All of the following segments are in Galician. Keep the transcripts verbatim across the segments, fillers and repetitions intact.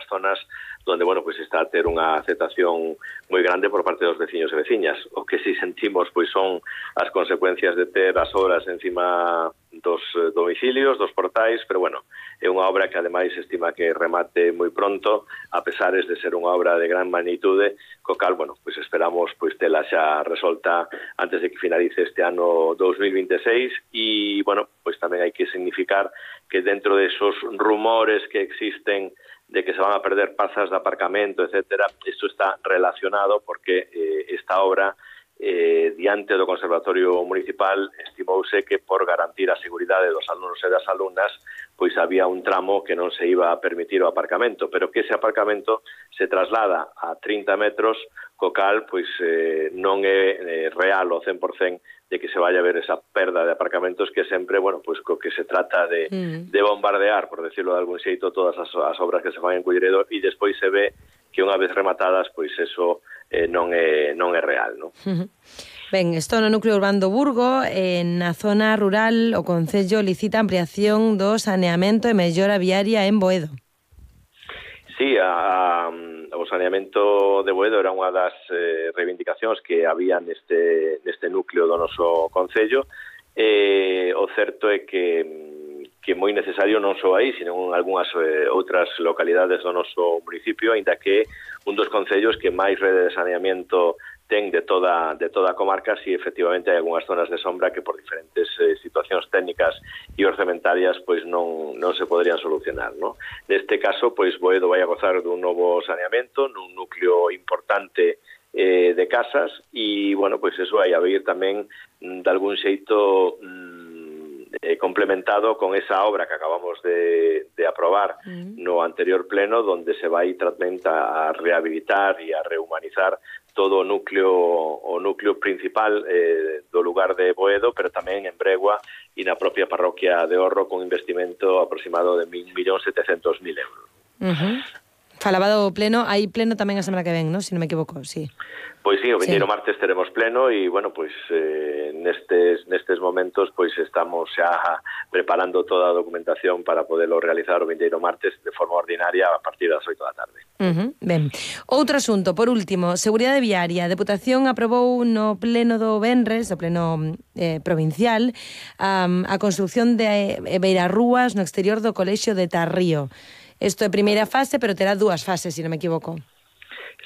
zonas donde, bueno, pues está a ter unha aceptación moi grande por parte dos veciños e veciñas. O que si sentimos, pois, son as consecuencias de ter as obras encima dos domicilios, dos portais, pero, bueno, é unha obra que, ademais, estima que remate moi pronto, a pesares de ser unha obra de gran magnitude, co cal, bueno, pois esperamos pois tela xa resolta antes de que finalice este ano dos mil vinte e seis e, bueno, pois tamén hai que significar que dentro de esos rumores que existen de que se van a perder plazas de aparcamento, etcétera, isto está relacionado porque eh, esta obra, eh, diante do Conservatorio Municipal, estimouse que por garantir a seguridade dos alumnos e das alumnas, pois había un tramo que non se iba a permitir o aparcamento, pero que ese aparcamento se traslada a trinta metros, co cal pois eh, non é eh, real o cen por cento de que se vaya a ver esa perda de aparcamentos que sempre, bueno, pois co que se trata de, mm. de bombardear, por decirlo de algún xeito, todas as, as obras que se fan en Culleredo e despois se ve que unha vez rematadas, pois eso eh, non é non é real, non? Uh-huh. Ben, isto no núcleo urbano do Burgo, en na zona rural, o Concello licita ampliación do saneamento e mellora viaria en Boedo. Sí, a, a, o saneamento de Boedo era unha das eh, reivindicacións que había neste, neste núcleo do noso Concello. Eh, o certo é que, que moi necesario non só aí, sino en algunhas eh, outras localidades do noso municipio, aínda que un dos concellos que máis rede de saneamento ten de toda de toda a comarca, si efectivamente hai algunhas zonas de sombra que por diferentes eh, situacións técnicas e orzamentarias pois non non se poderían solucionar, ¿no? Neste caso, pois Boedo vai a gozar dun novo saneamento nun núcleo importante eh, de casas e, bueno, pois eso vai a vir tamén de algún xeito mm, eh, complementado con esa obra que acabamos de, de aprobar mm. no anterior pleno, donde se vai tamén a rehabilitar e a rehumanizar todo o núcleo o núcleo principal eh, do lugar de Boedo, pero tamén en Bregua e na propia parroquia de Orro con investimento aproximado de un millón setecientos mil euros. Uh-huh. Falaba do pleno, hai pleno tamén a semana que ven, ¿no? Si non me equivoco, sí. Pois sí, o vindeiro sí. martes teremos pleno e, bueno, pois eh, nestes nestes momentos pois estamos xa preparando toda a documentación para poderlo realizar o vindeiro martes de forma ordinaria a partir das oito da tarde. Uh-huh. Ben. Outro asunto, por último, seguridade viaria. A Deputación aprobou no pleno do Venres, o pleno eh, provincial, um, a construción de eh, beirarrúas no exterior do Colexio de Tarrío. Isto é primeira fase, pero terá dúas fases, se non me equivoco.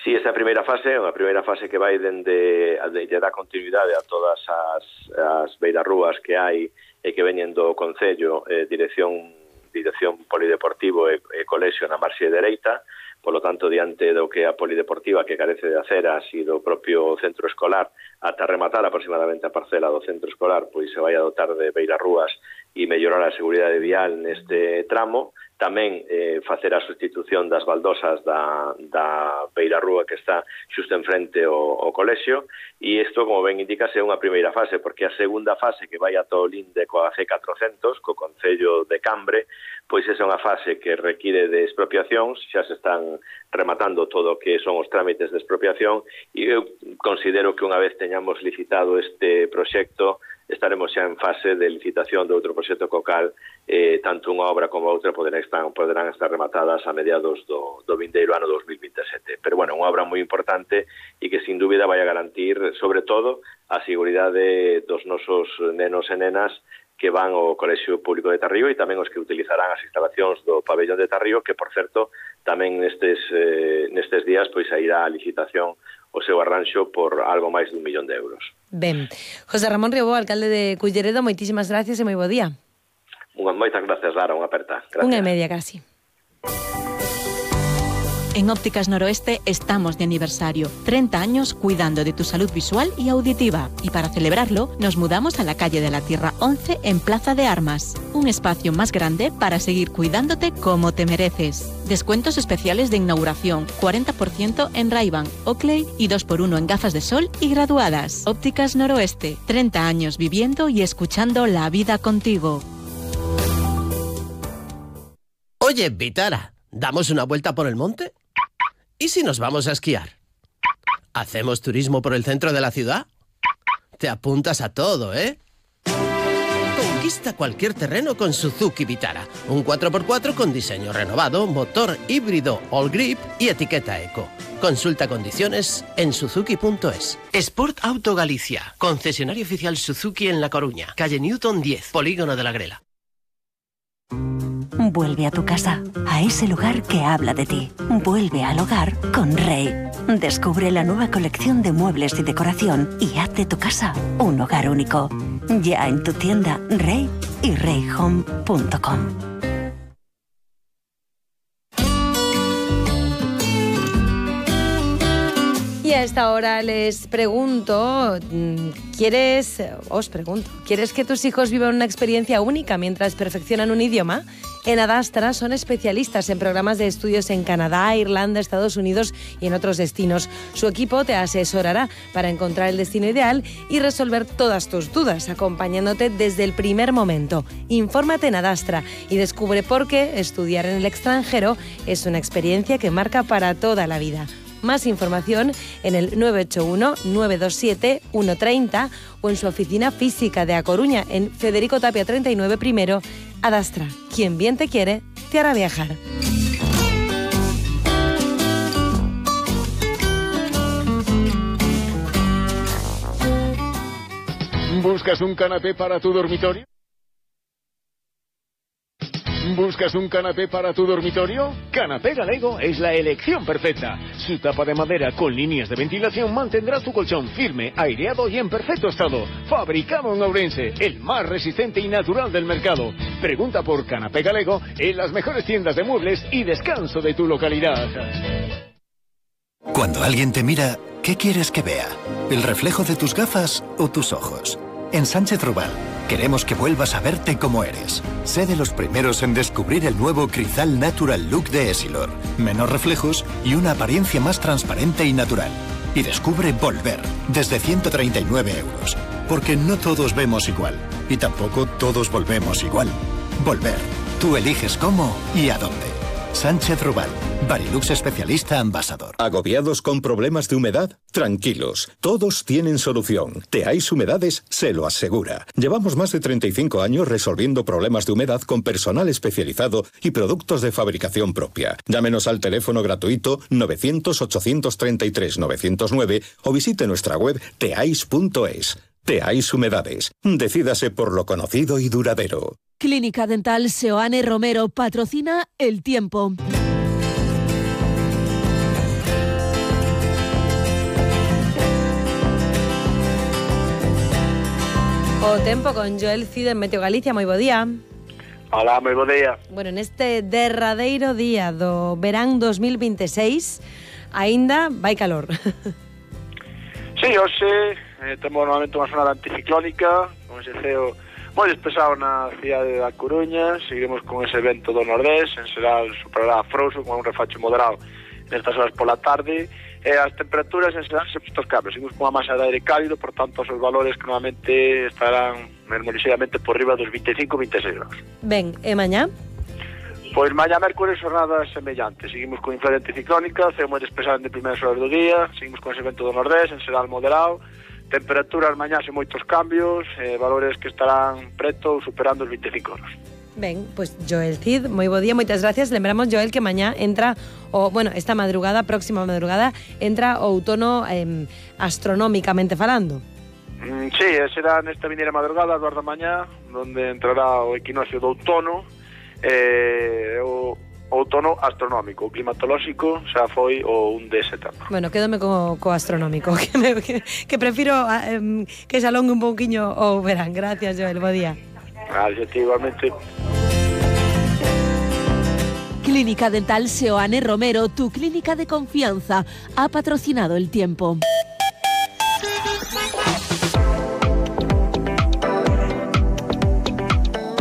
Sí, esa primeira fase é unha primeira fase que vai dende de, de dar continuidade a todas as, as beirarrúas que hai e que veñen do Concello, eh, dirección dirección polideportivo e, e colexio na marxe dereita. Por lo tanto, diante do que a polideportiva que carece de aceras e do propio centro escolar, ata rematar aproximadamente a parcela do centro escolar, pois se vai a dotar de beirarrúas e mellorar a seguridade vial neste tramo. Tamén eh, facer a sustitución das baldosas da, da beirarrúa que está xusto enfrente o, o colexio, e isto, como ben indicase, é unha primeira fase, porque a segunda fase que vai ata o linde coa C catrocentos, co Concello de Cambre, pois esa é unha fase que require de expropiacións, xa se están rematando todo o que son os trámites de expropiación, e eu considero que unha vez teñamos licitado este proxecto, estaremos xa en fase de licitación de outro proxecto cocal, eh, tanto unha obra como outra poderán estar, poderán estar rematadas a mediados do, do vindeiro ano dos mil vinte e sete. Pero, bueno, unha obra moi importante e que, sin dúbida, vai a garantir, sobre todo, a seguridade dos nosos nenos e nenas que van ao Colexio Público de Tarrío e tamén os que utilizarán as instalacións do pabellón de Tarrío, que, por certo, tamén nestes, eh, nestes días pois irá a licitación o seu arranxo por algo máis dun millón de euros. Ben. José Ramón Riobó, alcalde de Culleredo, moitísimas gracias e moi bo día. Unha, moitas gracias, Lara, unha aperta. Gracias. Unha e media casi. En Ópticas Noroeste estamos de aniversario. treinta años cuidando de tu salud visual y auditiva. Y para celebrarlo, nos mudamos a la calle de la Tierra once en Plaza de Armas. Un espacio más grande para seguir cuidándote como te mereces. Descuentos especiales de inauguración, cuarenta por ciento en Ray-Ban, Oakley y dos por uno en gafas de sol y graduadas. Ópticas Noroeste, treinta años viviendo y escuchando la vida contigo. Oye, Vitara, ¿damos una vuelta por el monte? ¿Y si nos vamos a esquiar? ¿Hacemos turismo por el centro de la ciudad? Te apuntas a todo, ¿eh? ¡Tumba! Conquista cualquier terreno con Suzuki Vitara. Un cuatro por cuatro con diseño renovado, motor híbrido All Grip y etiqueta Eco. Consulta condiciones en suzuki punto es. Sport Auto Galicia. Concesionario oficial Suzuki en La Coruña. Calle Newton diez, Polígono de la Grela. Vuelve a tu casa, a ese lugar que habla de ti. Vuelve al hogar con Rey. Descubre la nueva colección de muebles y decoración y haz de tu casa un hogar único. Ya en tu tienda Rey y rey home punto com. Y a esta hora les pregunto, ¿quieres, os pregunto, ¿quieres que tus hijos vivan una experiencia única mientras perfeccionan un idioma? En Adastra son especialistas en programas de estudios en Canadá, Irlanda, Estados Unidos y en otros destinos. Su equipo te asesorará para encontrar el destino ideal y resolver todas tus dudas, acompañándote desde el primer momento. Infórmate en Adastra y descubre por qué estudiar en el extranjero es una experiencia que marca para toda la vida. Más información en el nueve ocho uno, nueve dos siete, uno tres cero o en su oficina física de A Coruña en Federico Tapia treinta y nueve primero. Adastra, quien bien te quiere, te hará viajar. ¿Buscas un canapé para tu dormitorio? ¿Buscas un canapé para tu dormitorio? Canapé Galego es la elección perfecta. Su tapa de madera con líneas de ventilación mantendrá tu colchón firme, aireado y en perfecto estado. Fabricado en Ourense, el más resistente y natural del mercado. Pregunta por Canapé Galego en las mejores tiendas de muebles y descanso de tu localidad. Cuando alguien te mira, ¿qué quieres que vea? ¿El reflejo de tus gafas o tus ojos? En Sánchez Rubal queremos que vuelvas a verte como eres. Sé de los primeros en descubrir el nuevo Crizal Natural Look de Essilor. Menos reflejos y una apariencia más transparente y natural. Y descubre Volver, desde ciento treinta y nueve euros. Porque no todos vemos igual. Y tampoco todos volvemos igual. Volver. Tú eliges cómo y a dónde. Sánchez Rubal, Barilux especialista ambasador. ¿Agobiados con problemas de humedad? Tranquilos, todos tienen solución. Teais Humedades se lo asegura. Llevamos más de treinta y cinco años resolviendo problemas de humedad con personal especializado y productos de fabricación propia. Llámenos al teléfono gratuito novecientos, ochocientos treinta y tres, novecientos nueve o visite nuestra web teais punto es. Teais Humedades. Decídase por lo conocido y duradero. Clínica Dental Seoane Romero patrocina El Tiempo. O tempo con Joel Cid en Meteo Galicia, moi bo día. Hola, moi bo día. Bueno, neste derradeiro día do verán dos mil veintiséis, aínda vai calor. Sí, hoxe eh, temos normalmente unha zona anticiclónica, con ese ceo moi despesado na cidade da Coruña. Seguiremos con ese vento do nordés, en xeral superará a Frouxo con un refacho moderado nestas horas pola tarde. E as temperaturas en xeral se postos cambios, seguimos con unha masa de aire cálido, por tanto os valores que normalmente estarán mesmo ligeramente por riba dos vinte e cinco a vinte e seis graus. Ben, e mañá? Pois mañá mércores jornadas semellantes, seguimos con influencia anticiclónica, ceo moi despesado de primeiras horas do día, seguimos con ese vento do nordés, en xeral moderado, temperaturas mañá sen moitos cambios, eh, valores que estarán preto ou superando os vinte e cinco graus. Ben, pois pues Joel Cid, moi bo día, moitas gracias. Lembramos, Joel, que mañá entra, o bueno, esta madrugada, próxima madrugada, entra o outono eh, astronómicamente falando. Mm, sí, será nesta vindeira madrugada, as da mañá, onde entrará o equinoccio do outono, eh, o outono astronómico. O climatolóxico xa foi o un de setembro. Bueno, quédome co, co astronómico, que, me, que, que prefiro eh, que se alongue un pouquiño o verán. Gracias, Joel, bo día. Gracias, igualmente. Clínica Dental Seoane Romero, tu clínica de confianza, ha patrocinado El Tiempo.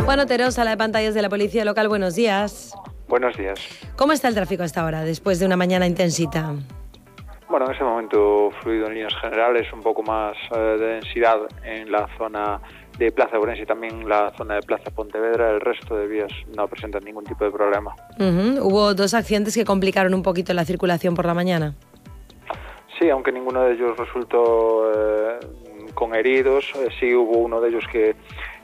Juan Otero, sala de pantallas de la Policía Local, buenos días. Buenos días. ¿Cómo está el tráfico hasta ahora, después de una mañana intensita? Bueno, en ese momento fluido en líneas generales, un poco más eh, de densidad en la zona de Plaza Ourense y también la zona de Plaza Pontevedra. El resto de vías no presentan ningún tipo de problema. Uh-huh. Hubo dos accidentes que complicaron un poquito la circulación por la mañana. Sí, aunque ninguno de ellos resultó eh, con heridos, eh, sí hubo uno de ellos que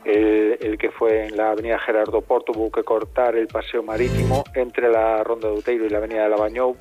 el, el que fue en la avenida Gerardo Porto, hubo que cortar el paseo marítimo entre la Ronda de Outeiro y la avenida de Labañou